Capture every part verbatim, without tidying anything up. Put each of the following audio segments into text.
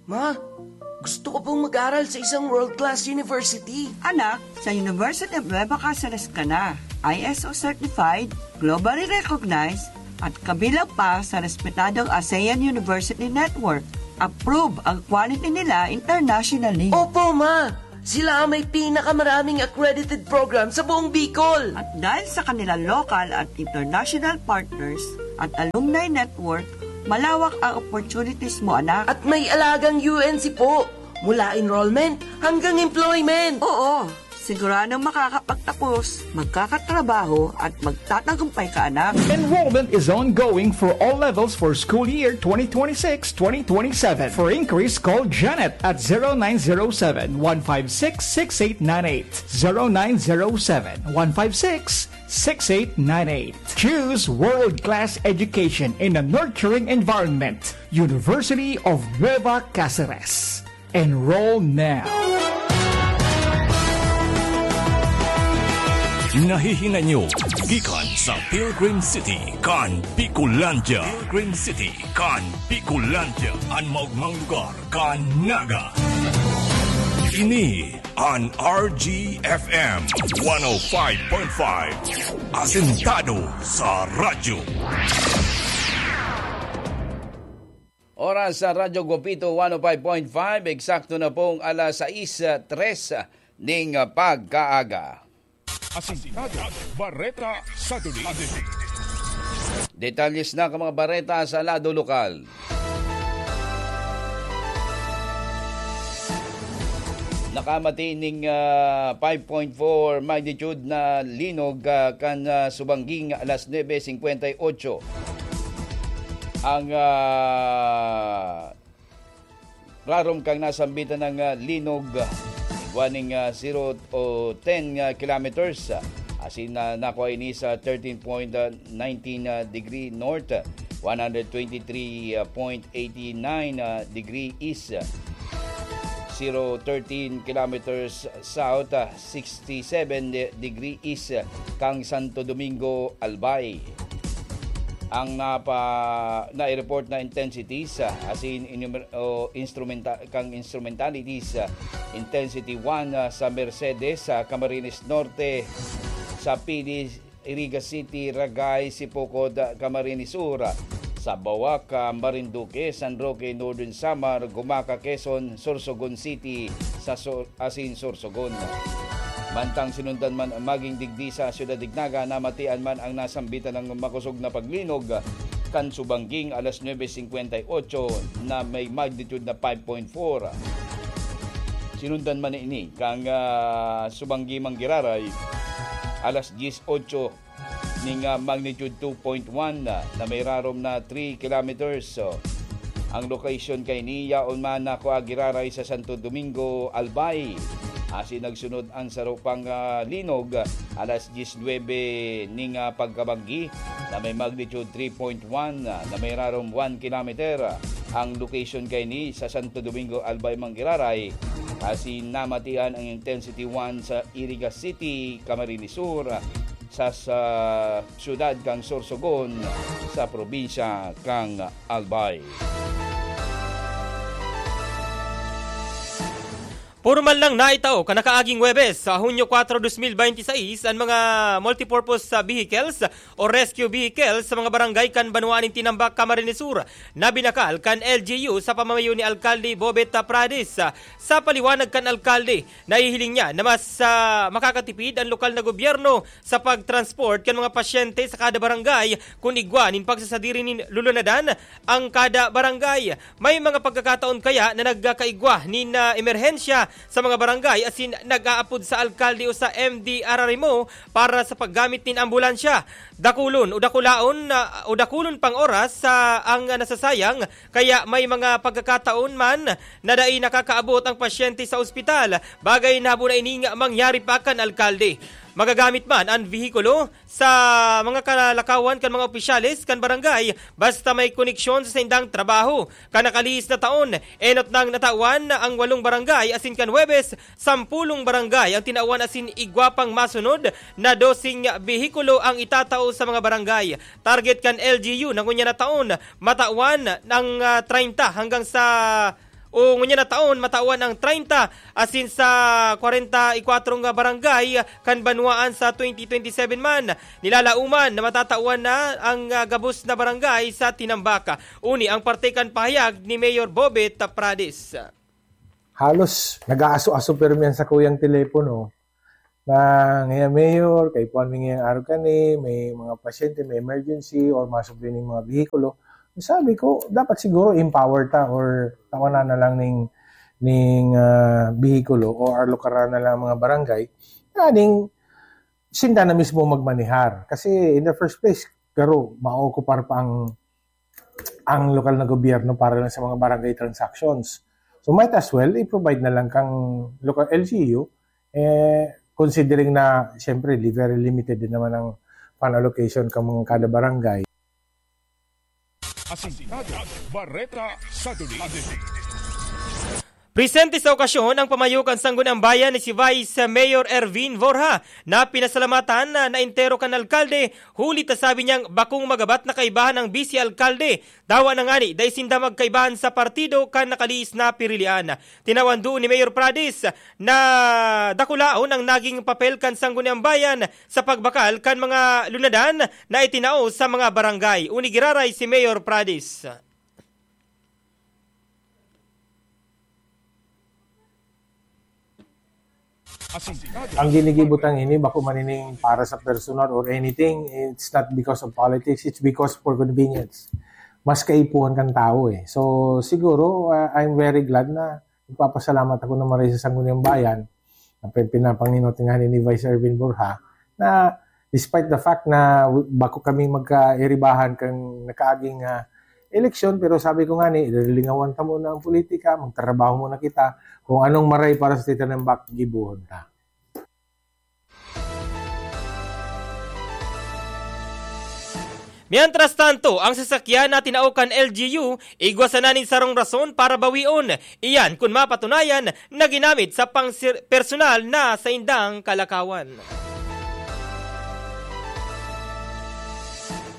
Ma, gusto ko pong mag-aral sa isang world-class university. Anak, sa University of Nueva Caceres ka na. I S O certified, globally recognized, at kabilang pa sa respetadong ASEAN University Network. Approve ang quality nila internationally. Opo, ma! Sila ang may pinakamaraming accredited program sa buong Bicol. At dahil sa kanilang local at international partners at alumni network, malawak ang opportunities mo, anak. At may alagang U N C po, mula enrollment hanggang employment. Oo, siguradong makakapagtapos, magkakatrabaho at magtatagumpay ka, anak. Enrollment is ongoing for all levels for school year twenty twenty-six twenty twenty-seven. For inquiries, call Janet at zero nine zero seven, one five six, six eight nine eight. Zero nine zero seven, one five six, six eight nine eight. Choose world-class education in a nurturing environment. University of Nueva Caceres. Enroll now. Nahihinay nyo gikan sa Pilgrim City kan Bicolandia. Pilgrim City kan Bicolandia, an maogmang lugar kan Naga. Ini an R G F M one oh five point five, asentado sa radyo. Oras sa Radyo Guapito one oh five point five, eksakto na pong alas sais tres ning pagkaaga. Asintado, Bareta sa Duli. Detalles na kan mga bareta sa lado lokal. Nakamati ning, ah, five point four magnitude na linog, ah, kan, ah, subangging alas nuebe singkwenta y ocho. Ang, ah, rarom kan nasambitan ning, ah, linog, ah, igwa ning, ah, zero o ten, ah, kilometers, ah, asin, ah, nakua ini sa thirteen point nineteen, ah, degree north, ah, one hundred twenty-three point eighty nine, ah, degree east, ah, zero thirteen kilometers south, ah, sixty-seven de-, degree east, ah, kan Santo Domingo, Albay. Ang napa-, nai-report na intensities, ah, asin inumer-, o instrumenta-, kan instrumentalities, ah, intensity one, ah, sa Mercedes, sa Camarines Norte, sa Pilis, Iriga City, Ragay, Sipocod, ah, Camarines Sur, ah, sa Bawak, ah, Marinduque, San Roque, Northern Samar, Gumaca, Quezon, Sorsogon City, sa Sur-, asin Sorsogon. Mantang sinundan man maging digdi sa Ciudad de Naga, namatian man ang nasambitan ning makosog na paglinog kan subangging alas nuebe singkwenta y ocho na may magnitude na five point four. Sinundan man ini kan, ah, subangging Manggiraray, alas dyes otso ning, ah, magnitude two point one, ah, na may rarom na three kilometers. So, ang location kaini yaon man na kua giraray sa Santo Domingo, Albay. Asin nagsunod ang saro pang, ah, linog, ah, alas dyes nuebe ning, ah, pagkabanggi na may magnitude three point one, ah, na may rarom one kilometer. Ang location kaini sa Santo Domingo, Albay, Manggiraray. Asin namatian ang intensity one sa Iriga City, Camarines Sur, sa, sa siyudad kan Sorsogon, sa probinsya kan Albay. Pormal nang naitao kan nakaaging Huwebes, sa Hunyo kwatro, dos mil binte y seis, an mga multipurpose, ah, vehicles o rescue vehicles sa mga barangay kan banwaan nin Tinambac, Camarines Sur, na binakal kan L G U sa pamamayo ni Alkalde Bobet Prades. Sa paliwanag kan alkalde, nahihiling niya na mas, ah, makakatipid an lokal na gobyerno sa pagtransport kan mga pasyente sa kada barangay kun igwa nin pagsasadiri nin lulunadan ang kada barangay. May mga pagkakataon kaya na nagkakaigwa nin, ah, emerhensya sa mga barangay asin nag-aapod sa alkalde o sa M D R R M O para sa paggamit nin ambulansya. Dakulon o dakulaon na, o dakulon pang oras sa ang nasasayang, kaya may mga pagkakataon man na dai nakakaabot ang pasyente sa ospital, bagay na habo na ining mangyari pa kan alkalde. Magagamit man an vehikulo sa mga kalakawan kan mga opisyales kan barangay basta may koneksyon sa saindang trabaho. Kan nakalihis na taon, enot nang natawan na ang walong barangay asin kan Huwebes, sampulong barangay ang tinawan asin igwa pang masunod na doseng behikulo ang itatao sa mga barangay. Target kan L G U na ngunyan na taon, matawan ang, ah, treinta hanggang sa O ngunyan na taon, matawan ang treinta asin sa kwarenta y kwatro nga barangay kan banwaan sa twenty twenty-seven man. Nilalaoman na matatawan na ang, ah, gabos na barangay sa tinambak. Uni ang parte kan pahayag ni Mayor Bobet Prades. Halos nag-aaso-aso pirmi an sakuyang telepono na, "Ngaya, Mayor, kaipuhan mi ngayang araw kani, may mga pasyente, may emergency, or masubli ning mga behikulo." Sabi ko, "Dapat siguro empower ta or tawanan na lang ning, ning, ah, behikulo o alukaran na lang mga barangay." Nganing sinda na mismo magmanehar. Kasi in the first place, garo, maookupar pa ang, ang lokal na gobyerno para lang sa mga barangay transactions. So might as well, i-provide na lang kang local L G U, eh, considering na, siyempre, li-, very limited din naman ang fund allocation kan mga kada barangay. Asintado, Bareta, Saturday. Presente sa okasyon ang pamayo kan Sangguniang Bayan ni si Vice Mayor Ervin Borja, na pinasalamatan na, na entero kan alkalde, huli ta sabi niyang bakong magabat na kaibahan ang bise alkalde. Dawa na ngani, dai sinda magkaibahan sa partido kan nakalihis na pirilian. Tinawan duon ni Mayor Prades na dakulaon ang naging papel kan Sangguniang Bayan sa pagbakal kan mga lunadan na itinao sa mga barangay. Uni giraray si Mayor Prades. Ang ginigibo tang ini, bako man ining para sa personal or anything, it's not because of politics, it's because for convenience. Mas kaipuhan kan tao eh. So, siguro, uh, I'm very glad na nagpapasalamat ako na maray sa Sangguniang Bayan, na pin-, pinapanginot nga ni Vice Ervin Borja, na despite the fact na w-, bako kami magkairibahan kan nakaaging, ah, eleksyon, pero sabi ko nga ni, lilingawan ta muna ang politika, magtrabaho muna kita, kung anong maray para sa tinambak, gibohon ta. Mientras tanto, ang sasakyan na tinao kan L G U, igwa sana nin sarong rason para bawion. Iyan kun mapatunayan na ginamit sa pang-, personal na saindang kalakawan.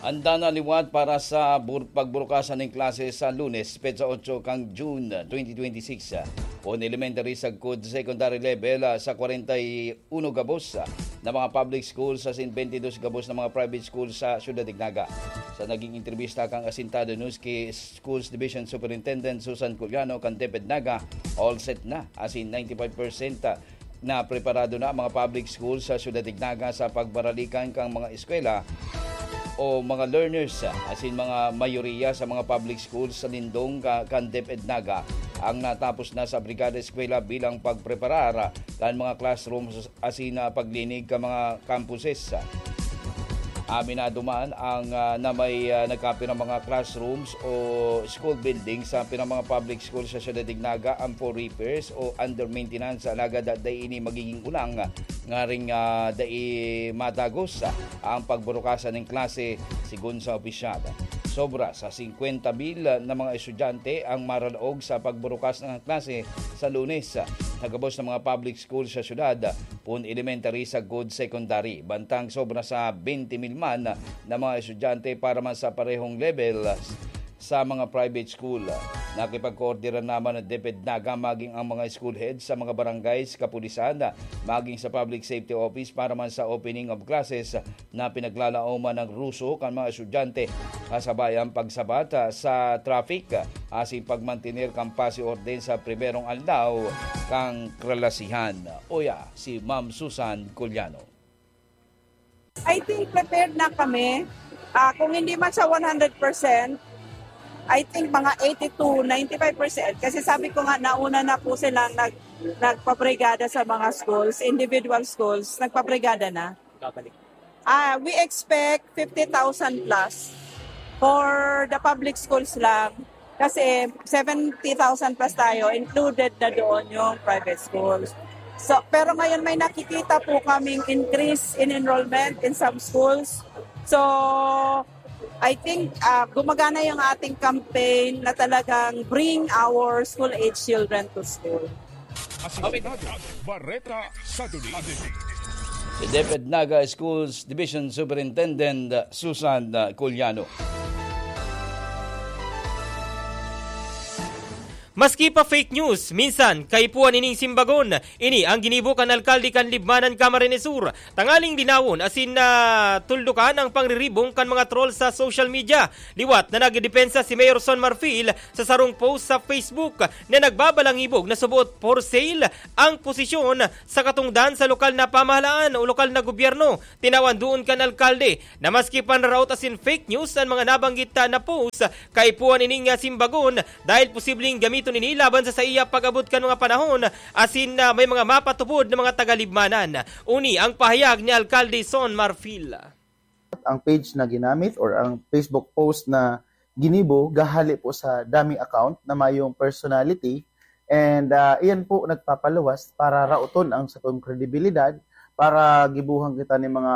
Handa na liwat para sa bur-, pagburukasan nin klase sa Lunes, petsa otso kan June, twenty twenty-six. Kun elementary sagkod secondary level, ah, sa kwarenta y uno gabos, ah, na mga public schools asin twenty dos gabos na mga private schools sa Syudad de Naga. Sa naging entrebista kan Asintado News ki Schools Division Superintendent Susan Culiano kan DepEd Naga, all set na, asin ninety-five percent na preparado na ang mga public schools sa Syudad de Naga sa pagbaralikan kan mga eskwela o mga learners, asin mga mayoriya sa mga public schools sa lindong ka-, kan DepEd Naga ang natapos na sa Brigada Eskwela bilang pagpreparar kan mga classrooms asin, ah, paglinig kan mga campuses. Aminado man ang, ah, na may, ah, nagkapirang mga classrooms o school buildings sa pirang mga public school sa Syudad de Naga ang for repairs o under maintenance, alagad dai ini magiging ulang ngaring, ah, dai matagos ang pagburukasan nin klase, sigon sa opisyal. Sobra sa singkwenta mil na mga estudyante ang maralaog sa pagburukas ng klase sa Lunes, sa gabos na mga public school sa syudad, pun elementary sagkod secondary. Bantang sobra sa twenty mil man na mga estudyante para man sa parehong level sa mga private school. Nakipagkoordinar naman ang DepEd Naga maging ang mga school heads sa mga barangays, kapulisan, maging sa Public Safety Office para man sa opening of classes na pinaglalaoman ng ruso kan mga estudyante, kasabay ang pagsabat, ah, sa traffic, ah, asin pagmantener kan paz y orden sa primerong aldaw kan klasihan. Uya, si Ma'am Susan Culiano. I think prepared na kami. Ah, kung hindi man sa one hundred percent, I think mga eighty to ninety-five percent. Kasi sabi ko nga, nauna na po silang nag-, nagpabrigada sa mga schools, individual schools, nagpabrigada na. Ah, we expect fifty thousand plus for the public schools lang. Kasi seventy thousand plus tayo, included na doon yung private schools. So, pero ngayon may nakikita po kaming increase in enrollment in some schools. So, I think, ah, gumagana yung ating campaign na talagang bring our school-age children to school. Asintado, Bareta, Saturday. Si DepEd Naga Schools Division Superintendent Susan, ah, Culiano. Maski pa fake news, minsan kaipuhan ining simbagon. Ini ang ginibo kan alkalde kan Libmanan, Camarines Sur, tangaling linawon asin na tuldukan ang pangriribong kan mga troll sa social media. Liwat na nagdepensa si Mayor Son Marfil sa sarong post sa Facebook na nagbabalangibog na subot for sale ang posisyon sa katungdan sa lokal na pamahalaan o lokal na gobyerno. Tinawan duon kan alkalde na maski panraraot asin fake news an mga nabanggit na post, kaipuhan ining simbagon dahil posibleng gamiton ini laban sa saiya pag-abot kan mga panahon asin na may mga mapatubod na mga tagalibmanan. Uni ang pahayag ni Alkalde Son Marfil. Ang page na ginamit or ang Facebook post na ginibo gahali po sa dummy account na mayong personality, and ah, iyan po nagpapaluwas para raoton ang satong kredibilidad, para gibuhan kita ni mga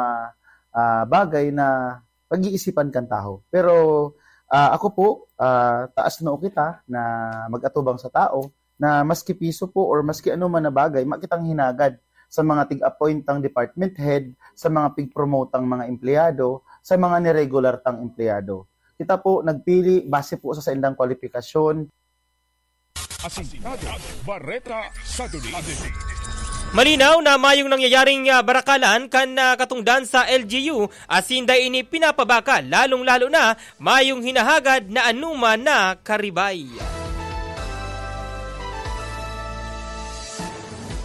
ah, bagay na pag-iisipan kan tawo. Pero ah, ako po, ah, taas noo kita na mag-atubang sa tao na maski piso po or maski ano man na bagay, makitang hinagad sa mga tig-appoint tang department head, sa mga pig-promote tang mga empleyado, sa mga niregular tang empleyado. Kita po nagpili base po sa saindang kwalipikasyon. Asintado, Bareta sa Duli. Malinaw na mayong nangyayaring ah, barakalan kan ah, katungdan sa L G U, asin dai ini pinapabakal, lalong-lalo na mayong hinahagad na anuman na karibay.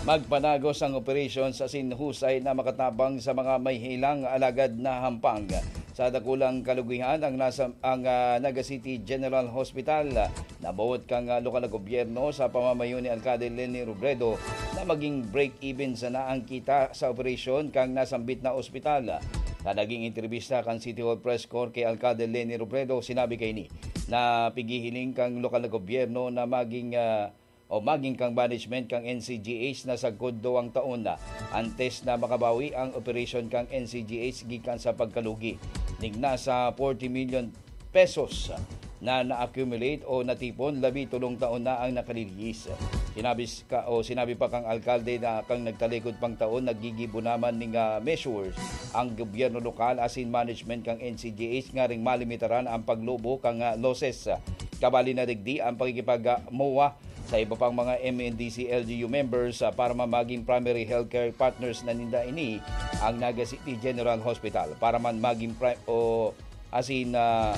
Magpanagos ang operasyon sa sinhusay na makatabang sa mga may hilang alagad na hampang. Sa dakulang kalugihan ang nasa ang ah, Naga City General Hospital. Naboot kang ah, lokal na gobyerno sa pamamayo ni Alkalde Leni Robredo na maging break-even sana ang kita sa operasyon kang nasambit na ospital. Sa naging entrevista kan City Hall Press Corps kay Alkalde Leni Robredo, sinabi kaini na pighihiling kang lokal na gobyerno na maging ah, o maging kang management kang N C G H na sagkod duwang taon na antes na makabawi ang operasyon kang N C G H gikan sa pagkalugi ning nasa forty million pesos na na-accumulate o natipon labi tolong taon na ang nakalihis. Sinabi s- ka, o sinabi pa kang alkalde na kang nagtalikod pang taon naggigibo naman ning ah, measures ang gobyerno lokal asin management kang N C G H ngaring malimitaran ang paglobo kang ah, losses. Kabali na digdi ang pakikipag-MOA sa iba pang mga M N D C L G U members ah, para man maging primary healthcare partners na ninda ini ang Naga City General Hospital para man maging pri- o asin na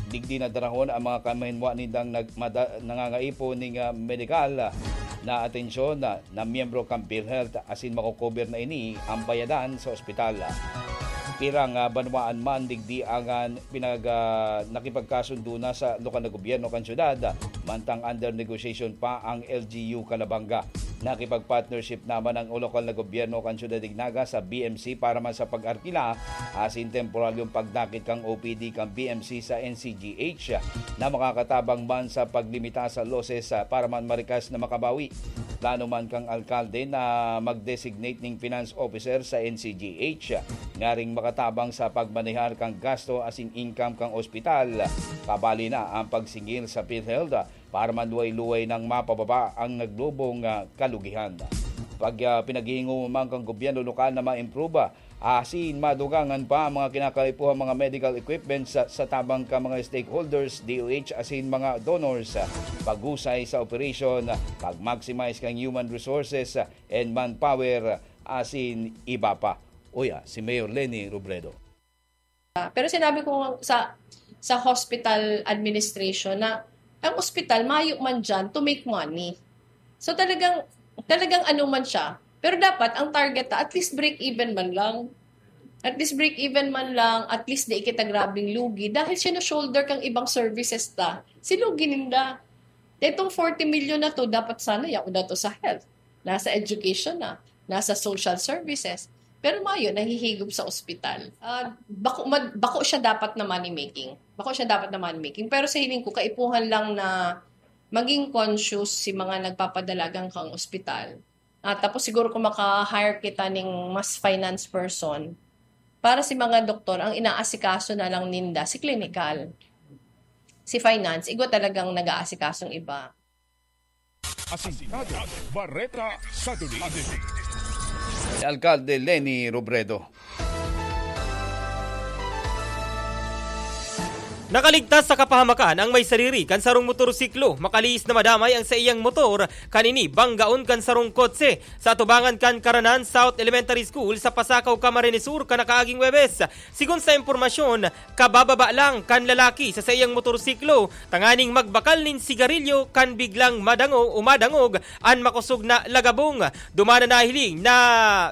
digdi na darahon ang mga kamahinwa nindang nagmada, nangangaipo ning ah, medikal ah, na atensyon na, na miyembro kan PhilHealth asin makokober na ini ang bayadan sa ospital. Pirang ah, banwaan man digdi ang ah, pinag ah, nakipagkasundo na sa lokal na gobyerno kan syudad mantang under negotiation pa ang L G U Calabanga. Nakipag-partnership naman ang lokal na gobyerno kan syudad nin Naga sa B M C para man sa pag-arkila asin temporaryong pagdakit kan O P D kan B M C sa N C G H na makakatabang man sa paglimita sa losses ah, para man marikas na makabawi. Plano man kan alkalde na mag-designate ning finance officer sa N C G H ngaring makatabang sa pagmanehar kan gasto asin income kan ospital. Kabali na ang pagsingil sa PhilHealth para man luway-luway nang mapababa ang naglobong ah, kalugihan. Pag ah, pinaghihingoman kan gobyerno lokal na ma-improve ah, asin madugangan pa ang mga kinakaipuhang mga medical equipment sa, sa tabang kan mga stakeholders, D O H asin mga donors, ah, paghusay sa operasyon, ah, pag-maximize kan human resources ah, and manpower, ah, asin iba pa. Uya, si Mayor Leni Robredo. Pero sinabi ko sa sa hospital administration na ang ospital mayo man diyan to make money. So talagang talagang ano man siya. Pero dapat ang target ta at least break even man lang. At least break even man lang, at least di kita grabing lugi dahil siya shoulder kang ibang services ta. Si lugi ninda. Itong forty million na to, dapat sana yaon na to sa health, nasa education na, nasa social services. Pero mayo, nahihigop sa ospital. Ah, bako, mad, bako siya dapat na money making. Bako siya dapat na money making. Pero sa hiling ko, kaipuhan lang na maging conscious si mga nagpapadalagan kang ospital. At tapos siguro kung maka-hire kita ning mas finance person, para si mga doktor, ang inaasikaso na lang ninda, si clinical. Si finance, igwa talagang nag-aasikasong iba. Asintado, Bareta sa Duli. Si Alkalde Leni Robredo. Nakaligtas sa kapahamakan ang may sadiri kan sarong motorsiklo. Makalihis na madamay ang saiyang motor kan ini banggaon kan sarong kotse sa atubangan kan Karanan South Elementary School sa Pasacao, Camarines Sur, kan nakaaging Huwebes. Sigon sa impormasyon, kabababa lang kan lalaki sa saiyang motorsiklo tanganing magbakal nin sigarilyo kan biglang madango o madangog an makosog na lagabong. Duman na nahiling na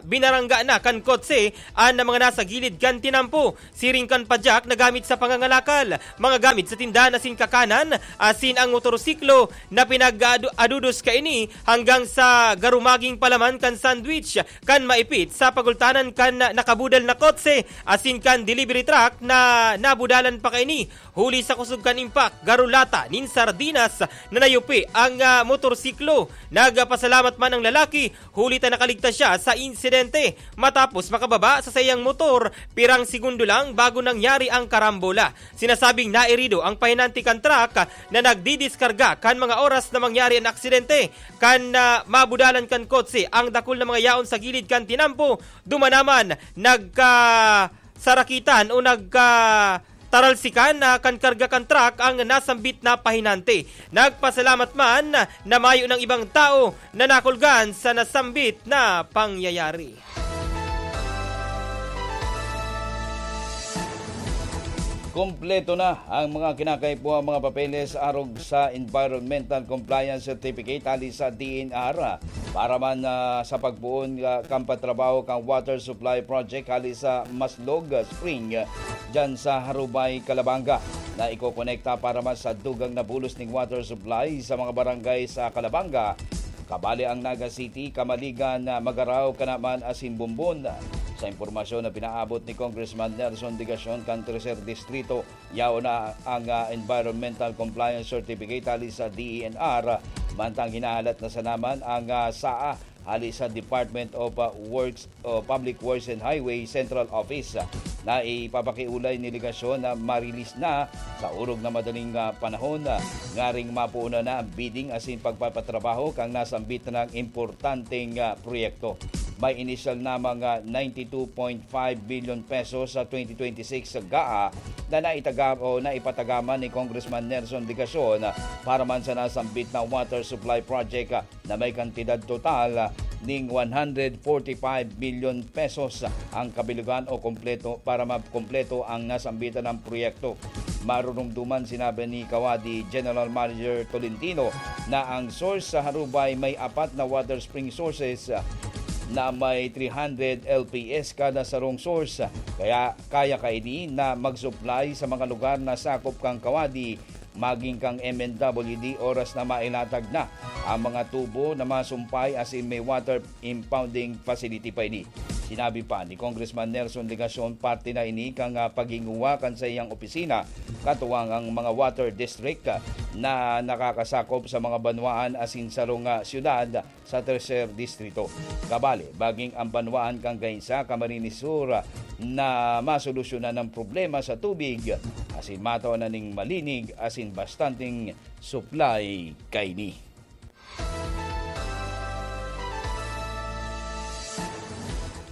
binarangga na kan kotse an mga nasa gilid kan tinampo. Siring kan padyak na gamit sa pangangalakal, mga gamit sa tindahan asin kakanan, asin ang motorsiklo na pinag-adudos kaini hanggang sa garumaging palaman kan sandwich kan maipit sa pagultanan kan nakabudal na kotse asin kan delivery truck na nabudalan pa kaini. Huli sa kusog kan impact, garo lata nin sardinas na nayupi ang, ah, motorsiklo. Nagpasalamat man ang lalaki huli ta nakaligtas siya sa insidente matapos makababa sa saiyang motor pirang segundo lang bago nangyari ang karambola. Sinasabing nairido ang pahinante kan truck na nagdidiskarga kan mga oras na mangyari an aksidente. Kan, ah, mabudalan kan kotse ang dakul na mga yaon sa gilid kan tinampo, duman naman nagkasarakitan o nagka taralsikan na kan karga kan truck ang nasambit na pahinante. Nagpasalamat man na mayo ng ibang tao na nakulgan sa nasambit na pangyayari. Kompleto na ang mga kinakaipuhan mga papeles arog sa Environmental Compliance Certificate hali sa D N R para man, ah, sa pagpoon, ah, kan pagtrabaho kan water supply project hali sa Maslog Spring, ah, dyan sa Harubay, Calabanga, na ikokonekta para man sa dugang na bulos ning water supply sa mga barangay sa Calabanga, kabali ang Naga City, Camaligan, ah, Magarao, Canaman asin Bombon. Sa impormasyon na pinaabot ni Congressman Nelson Digacion kan Tercer Distrito, yaon na ang, ah, Environmental Compliance Certificate hali sa D E N R, mantang hinahalat na sana man ang, ah, S A A hali sa Department of, ah, Works o Public Works and Highway Central Office, ah, na ipapakiulay ni Legacion na ma-release na sa orog na madaling, ah, panahon, ah, ngaring mapuuna na ang bidding asin pagpapatrabaho kan nasambit na importanteng, ah, proyekto. May inisyal na mga ninety-two point five billion pesos sa twenty twenty-six sa G A A na naitaga-, o naipatagaman ni Congressman Nelson Legacion para man sa nasambit na water supply project, ah, na may kantidad total, ah, ning one hundred forty-five million pesos ang kabilugan o kompleto para makompleto ang nasambitan ng proyekto. Marurumduman sinabi ni Kawadi General Manager Tolentino na ang source sa Harubay may apat na water spring sources, ah, na may three hundred L P S kada sarong source. Kaya kaya kaini na mag-supply sa mga lugar na sakop kan Kawadi maging kan M N W D oras na mailatag na ang mga tubo na masumpay asin may water impounding facility pa ini. Sinabi pa ni Congressman Nelson Legacion, parte na ini kan, ah, paghinguha kan saiyang opisina katuwang ang mga water district, ah, na nakakasakop sa mga banwaan asin sarong, ah, syudad sa Tercer Distrito. Kabali, baging ang banwaan kan Gainsa, Camarines Sur, na masolusyonan ang problema sa tubig asin matawan na ning malinig asin bastanteng supply kaini.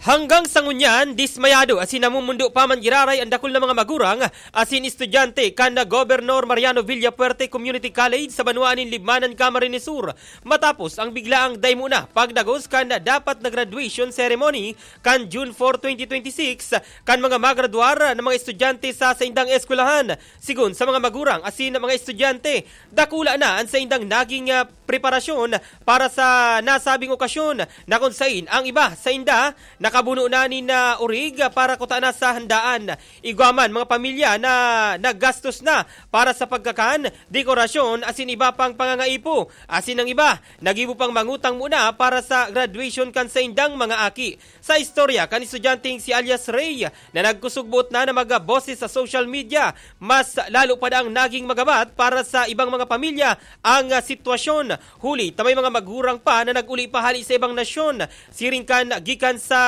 Hanggang sa ngunyan, dismayado asin namumundo pa man giraray ang dakul na mga magurang asin estudyante kan Gobernador Mariano Villafuerte Community College sa banwaan nin Libmanan, Camarines Sur, matapos ang biglaang daymo na pagdagos kan dapat na graduation ceremony kan June four, twenty twenty-six, kan mga magradwar na mga estudyante sa saindang eskwelahan. Sigon sa mga magurang asin mga estudyante, dakula na an saindang naging, ah, preparasyon para sa nasabing okasyon, na kun sain ang iba sainda nakabuno na nin, ah, orig para kutana sa handaan. Igwa man mga pamilya na naggastos na para sa pagkakan, dekorasyon asin iba pang pangangaipo, asin ang iba naggibo pang mangutang muna para sa graduation kan saindang mga aki. Sa istorya kan estudyanteng si alias Ray, na nagkusog-buot na na magboses sa social media, mas lalo pa daang naging magabat para sa ibang mga pamilya ang, ah, sitwasyon, huli ta may mga magurang pa na nag-uli pa hali sa ibang nasyon, siring kan gikan sa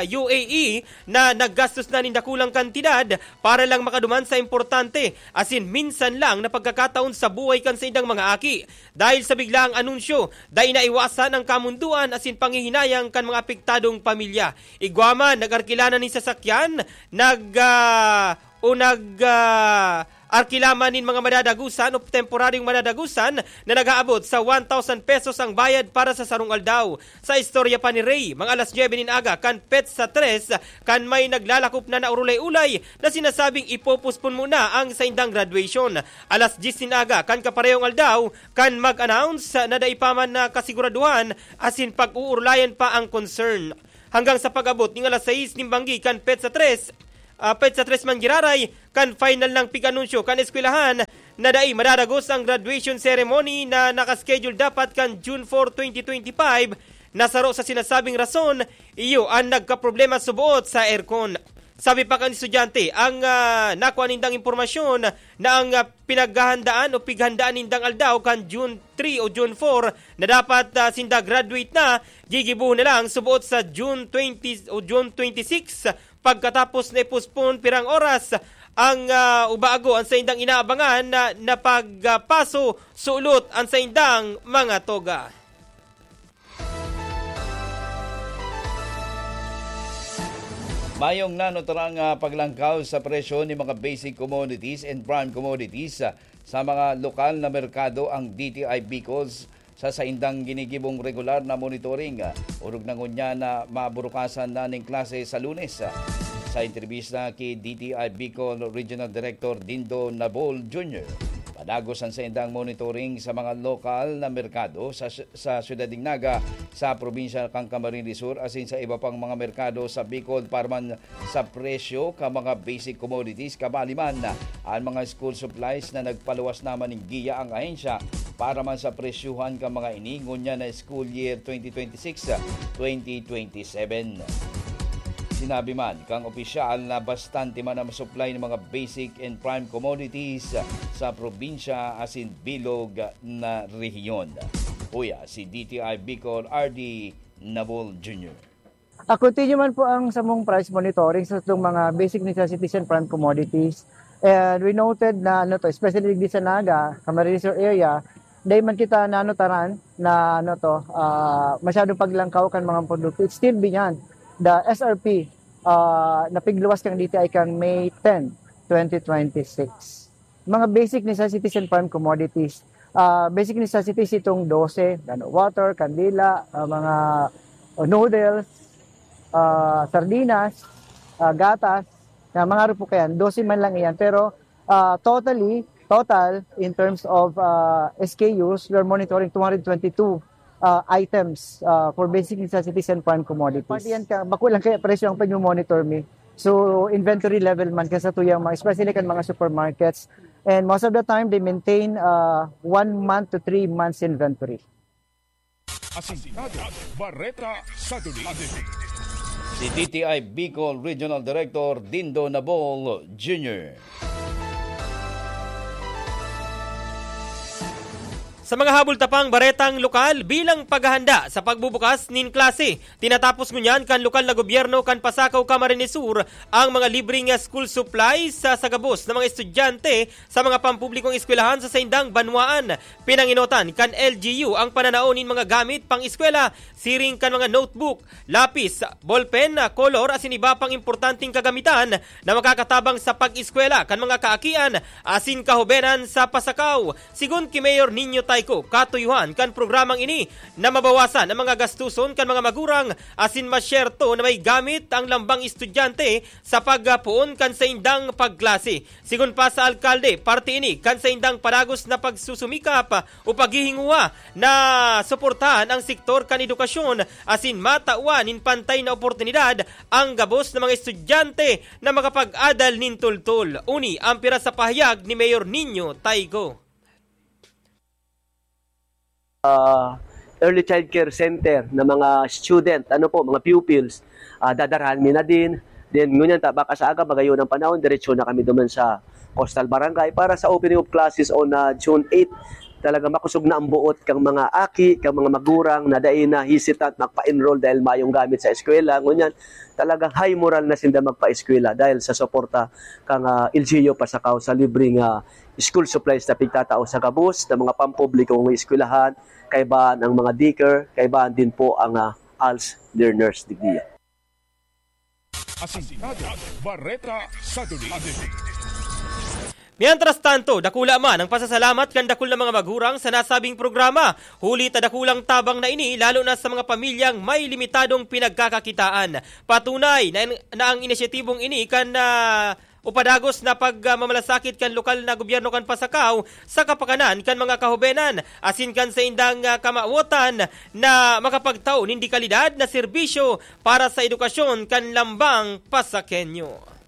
U A E, na naggastos na nin dakulang kantidad para lang makaduman sa importante asin minsan lang na pagkakataon sa buhay kan saindang mga aki. Dahil sa biglaang anunsyo, dai naiwasan ang kamundoan asin panghihinayang kan mga apektadong pamilya. Igwa man, nag-arkila na nin sasakyan, nag, ah, o nag, ah, Arkilaman nin mga madadagusan o temporaryong madadagusan na nag-aabot sa one thousand pesos ang bayad para sa sarong aldaw. Sa istorya pa ni Ray, mga alas nuebe nin aga kan petsa tres, kan may naglalakop na naurulay-ulay na sinasabing ipopospon muna ang saindang graduation. Alas dyes nin aga kan kaparehong aldaw, kan mag-announce na dai pa man nakasiguraduhan asin pag-uurulayan pa ang concern. Hanggang sa pag-abot ning alas sais nin banggi kan petsa tres, ah, petsa tres man giraray, kan final nang pig-anunsyo kan eskwelahan na dai madadagos ang graduation ceremony na nakaschedule dapat kan June four, twenty twenty-five, na saro sa sinasabing rason, iyo an nagkaproblema suboot sa aircon. Sabi pa kan estudyante, ang, ah, nakua nindang impormasyon na ang, ah, pinaghahandaan o pighandaan nindang aldaw kan June three o June four na dapat, ah, sinda graduate na, gigibohon na lang suboot sa June twenty o June twenty-six, pagkatapos na i-postpone pirang oras ang, ah, ubago ang saindang inaabangan na, na pagpaso sulot ang saindang mga toga. Mayong nanuturang, ah, paglangkaw sa presyo ni mga basic commodities and prime commodities, ah, sa mga lokal na merkado ang D T I Bicol sa saindang ginigibong regular na monitoring. Ah, orog na ngunyan na maburukasan na ning klase sa Lunes. Ah, sa entrebista ki D T I Bicol Regional Director Dindo Nabol Junior, padagos an saindang monitoring sa mga lokal na merkado sa sa Syudad nin Naga, sa probinsya kan Camarines Sur, asin sa iba pang mga merkado sa Bicol para man sa presyo kan mga basic commodities, kabali man an mga school supplies na nagpaluwas naman nin giya ang ahensya para man sa presyohan kan mga ini ngunyan na school year twenty twenty-six, twenty twenty-seven. Sinabi man kan opisyal na bastante man ang supply ng mga basic and prime commodities sa probinsya asin bilog na rehiyon. Uya, si D T I Bicol, R D Nabol Junior. Ah, continue man po ang samong price monitoring sa itong mga basic necessities and prime commodities. And we noted na, ano to, especially digdi sa Naga, Camarines Sur area, dahil man kita nanutaran na, ano to, ah, masyadong paglangkaw kan mga produkto. It's still beyond the S R P, ah, na pigluwas kan D T I kan May ten, twenty twenty-six. Mga basic necessities and prime commodities. Ah, basic necessities itong dose, ano, water, kandila, ah, mga, oh, noodles, ah, sardinas, ah, gatas, na mga rupo kayan, dose man lang iyan. Pero, ah, totally, total, in terms of, ah, S K Us, we are monitoring two hundred twenty-two, ah, items, ah, for basic necessities and prime commodities. Pati yan ka, bako lang kaya presyo ang pag-monitor mi. So, inventory level man ka sa tuyang mga, especially kan mga supermarkets. And most of the time, they maintain, uh, one month to three months inventory. Asintado, Bareta sa Duli. Si D T I Bicol Regional Director Dindo Nabol Junior. Sa mga habol tapang baretang lokal bilang paghahanda sa pagbubukas nin klase, tinatapos ngunyan kan lokal na gobyerno kan Pasakaw, Camarines Sur ang mga libreng school supplies sa, sa gabos na mga estudyante sa mga pampublikong eskwelahan sa saindang banwaan. Pinanginotan kan L G U ang pananao nin mga gamit pang-eskwela, siring kan mga notebook, lapis, ballpen, kolor asin iba pang importanteng kagamitan na makakatabang sa pag-eskwela kan mga kaakian asin kahobenan sa Pasakaw. Sigon ki Mayor Nino Tayco, katuyuhan kan programang ini na mabawasan ang mga gastuson kan mga magurang asin masyerto na may gamit ang lambang estudyante sa pagpoon kan saindang pagklase. Sigon pa sa alkalde, parte ini kan saindang padagos na pagsusumikap o paghihinguha na suportahan ang sektor kan edukasyon asin matawan nin pantay na oportunidad ang gabos na mga estudyante na makapag-adal nin tultol. Uni ang pira sa pahayag ni Mayor Nino Tayco. Ah, early child care center na mga student, ano po, mga pupils, ah, dadarahan mi na din. Then, ngunyan ta, baka sa aga, magayon ang panahon, diretso na kami duman sa Coastal Barangay para sa opening of classes on ah, June eight. Talaga makusog na ang buot kang mga aki, kang mga magurang na dai na hesitant magpa-enroll dahil mayong gamit sa eskwela. Ngunyan, talagang high moral na sinda magpa-eskwela dahil sa suporta kang ah, L G U Pasakaw sa libreng ah, school supplies na pigtatao sa gabos na mga pampublikong eskwelahan, kaibahan ang mga daycare, kaibahan din po ang ah, als learners digdiya. Asintado, Bareta sa Duli. Mientras tanto, dakula man ang pasasalamat kan dakul na mga maghurang sa nasabing programa, huli ta dakulang tabang na ini, lalo na sa mga pamilyang may limitadong pinagkakakitaan. Patunay na, na ang inisyatibong ini kan, ah, upadagos na pagmamalasakit kan lokal na gobyerno kan Pasacao sa kapakanan kan mga kahobenan, asin kan saindang, ah, kamawotan na makapagtao nin dekalidad na serbisyo para sa edukasyon kan lambang Pasakenyo.